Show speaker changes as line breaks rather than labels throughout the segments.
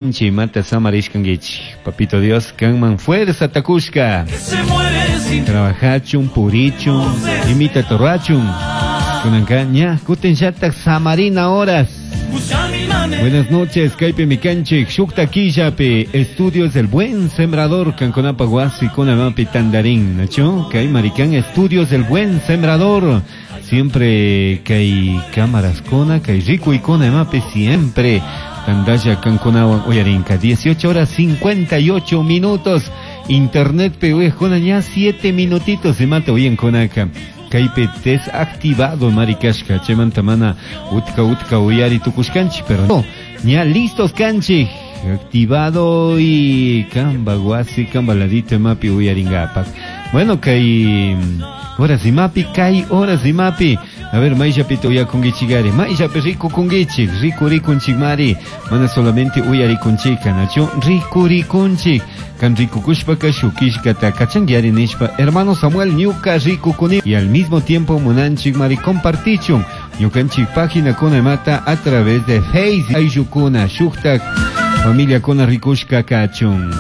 Mata samarishkankichik. Papito Dios, kanman fuerza takushka. Trabajachun, purichun, imita torrachun. Kunanka ña, kutin llatak samarina horas. Buenas noches, kaypi mikanchik, shukta killapi, Estudios del Buen Sembrador, kankunapa wasi kunamapi tandarin, ¿nacho? Kay marikan, Estudios del Buen Sembrador. Siempre kay cámaras kona, kay rico y kona mapi siempre. Tandalla kankunawan uyarinka, 18 horas 58 minutos. Internet pe kona ña 7 minutitos se mata uyan konaka. Kaypi desactivado marikashka chaymanta mana utka utka uyari tukushkanchik, pero no, ña listos kanchik activado y kamba wasi kamba ladito mapi uyaringapak. Bueno, kay horas y mapi, kay horas y mapi. A ver, mayllapita uyakunkichikari, mayllapi rikukunkichik, rikurikunchik mari, mana solamente uyarikunchika, nachu rikurikunchik. Kan rikukushpaka shukishkata kachanguiari nishpa, hermano Samuel ñuka rikukuni. Y al mismo tiempo munanchik mari compartichun ñukanchik página kuna mata a través de Facebook. Ayllukuna, shuktak familia kuna rikushka kachun.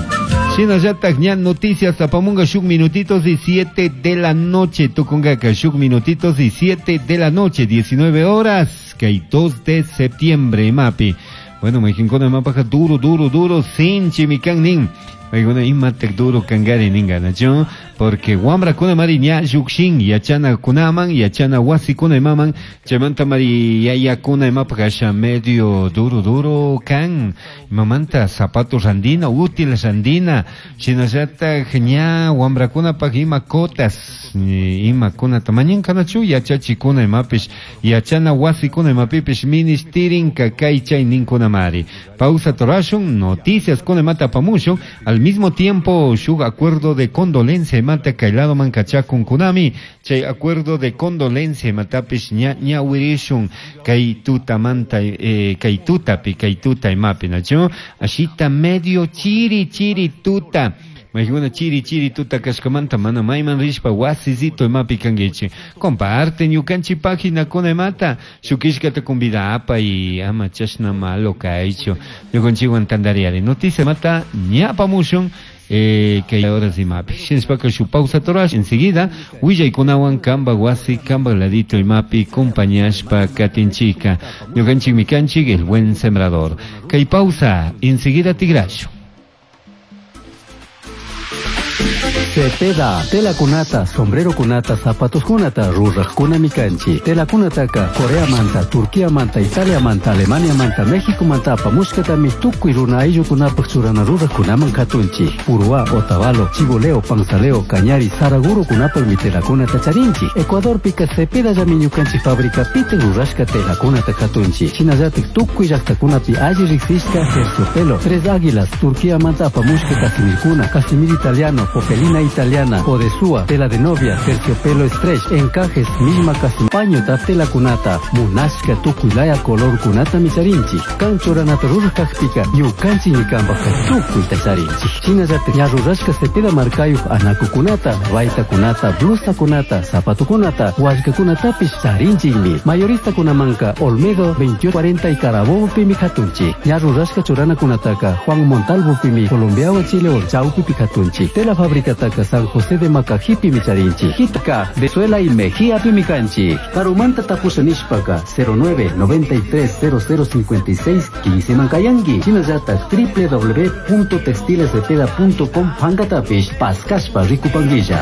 Shinallatak ña noticias apamunga shuk minutitos y 7 de la noche. Tucungaca shuk minutitos y 7 de la noche, 19 horas, que hay 2 de septiembre, mapi. Bueno, me jincona mapaja duro, duro, duro, sin chimican nin. Paykuna imatak duro kangari ninga, nacho? Porque wamra kuna mari ña llukshin, yachana kunaman, yachana wasi kuna imaman, chaymanta mari yaya kuna imapaj asha medio duro duro kan, imamanta zapatos randina, útil randina, shinallatak ña wamra kunapaj ima cotas, ima kunata mañanka nachu, yachachikuna imapish, yachana wasi kuna imapipish ministirinka kay chay ninkuna mari. Pausa torashun, noticias kuna imata apamushun, al mismo tiempo, shuk acuerdo de condolencia imata kaylado mankachakun kunami, chay acuerdo de condolencia imatapish ña ña wirishun kay tuta manta, kay tutapi, kay tuta imapi, nachu? Ashita medio chiri chiri tuta. Maykuna chiri chiri tuta kashkamanta mana mayman rishpa wasizito imapi kankichik. Comparte ñukanchik página kuna imata, shukishkata convidapa y ama chashna malo kaychu. Ñukanchikwan tandariari. Noticia mata ñapamushun, kay horas imapi. Shinashpaka shu pausa torash, enseguida willaykunawan kamba wasi kamba ladito imapi compañashpa katinchika. Ñukanchik mikanchik el buen sembrador. Kay pausa, enseguida tigrashu.
Cepeda, tela kunata, sombrero kunata, zapatos kunata, ruraj kuna mikanchi. Tela kunataka, Corea manta, Turquía manta, Italia manta, Alemania manta, México manta, apamushkatami, tukuy runa ayllu kunapaj churana ruraj kunaman katunchi. Purúa, Otavalo, Chiboleo, Panzaleo, Cañari, Saraguro kunapaj mi tela kunata charinchi. Ecuador pika Cepeda llami ñukanchi fábrica pite rurashka tela kunata katunchi. Shinallatik tukuy llaqtakunapi alli riksishka terciopelo, Tres Águilas, Turquía manta, apamushka casimirkuna, casimir italiano, popelina italiana, odesúa, tela de novia, terciopelo stretch, encajes, misma casi paño ta tela kunata, munashka tukuylaya color kunata micharinchi, kanchoranata rurajkajpika, ñukanchi ñikanpajka tukuy tacharinchi. Shinallata ña rurashka cepeda markayuj anaku kunata, baita kunata, blusa kunata, zapato kunata, wallka kunatapish charinchikmi. Mayorista kunamanka, Olmedo 2840 y Carabobo pimi katunchi. Ña rurashka churana kunataka, Juan Montalvo pimi, Colombiawa Chile Chaupi katunchi. Tela fábrica taka San José de Macajipi micharinchi. Jitaka, Venezuela y Mejía pimicanchi. Karumanta tapusha nishpaka 09 93 00 56 15 mankayangi. Shinallata www.textilescepeda.com pankatapish paskashpa rikupanguilla.